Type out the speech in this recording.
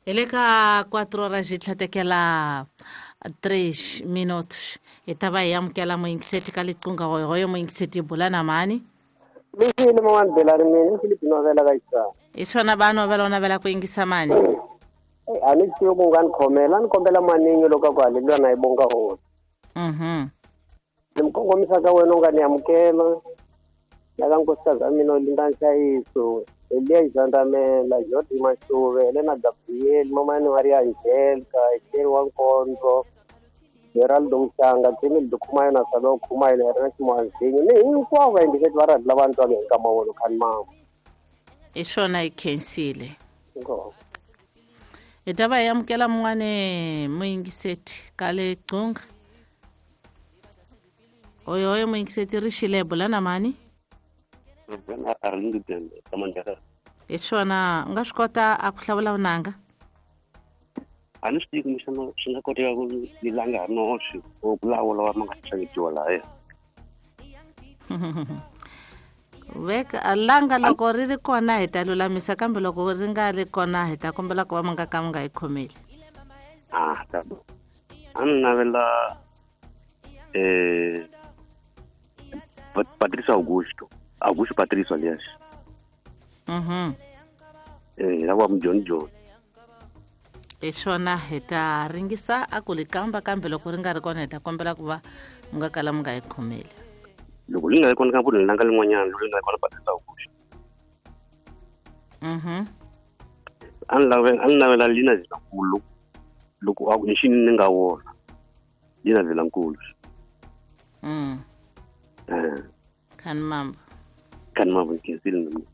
Hi le ka 4 horas yi tlhatekela 3 minutos. Hi ta va hi amukela muyingiseti ka liqunga hoyohoyo muyingiseti hi bula na mani. Lexi ni man'wani belani mina i Philip Novela ka Xitsonga. Hi swona va novela u navela ku yingisa mani? A ni swi tivi ku nga ni khomela, a ni kombela maningi loko a ku haleliwa na yi bonga hosi. Ni mi kongomisa ka wena u nga ni amukela na ka nkosikazi wa mina Olinda Nhlayiso, Eliya Xandamela, Jodi Mashuve, Helena Gabriel, Mamani Maria Angelica, Echeri wa Nkondzo, Geraldo Mhlanga, Cemil Dukhumayo na Salo Khumayo na Ernest Mwanzinyo ni hinkwavo vayingiseti va rhadi lava ni twaka hi nkama wolowo khani mama. Hi swona hi khensile. Inkomu. Hi ta va hi amukela mun'wani muyingiseti ka le Gcunga. Oyoyo muyingiseti ri xile bula na mani? Hi swona u nga swi kota a ku hlawula vunanga? A ni swi tivi kumbexana swi nga koteka ku ni langa noxe or ku lawa lawa ma nga xavetiwa lahaya. Veka langa loko ri ri kona hi ta lulamisa, kambe loko ri nga ri kona hi ta kombela ku va mi nga ka mi nga yi khomeli. Ah, ta a ni navela Patricio Augusto, Augusto Patricio alias. Lava John John. Hi swona hi ta ringisa a ku li kamba, kambe loko ri nga ri kona hi ta kombela ku va mi nga kala mi nga yi khomeli. Loko li nga ri kona ka vunhu langa lin'wanyana, loko li nga ri kona Patricio Augusto. A ni lave, a ni navela Lina Zilankulu loko a ku ni xini ni nga wona. Lina Zilankulu. Khani mambo. Khani mambo nkhensile na mina.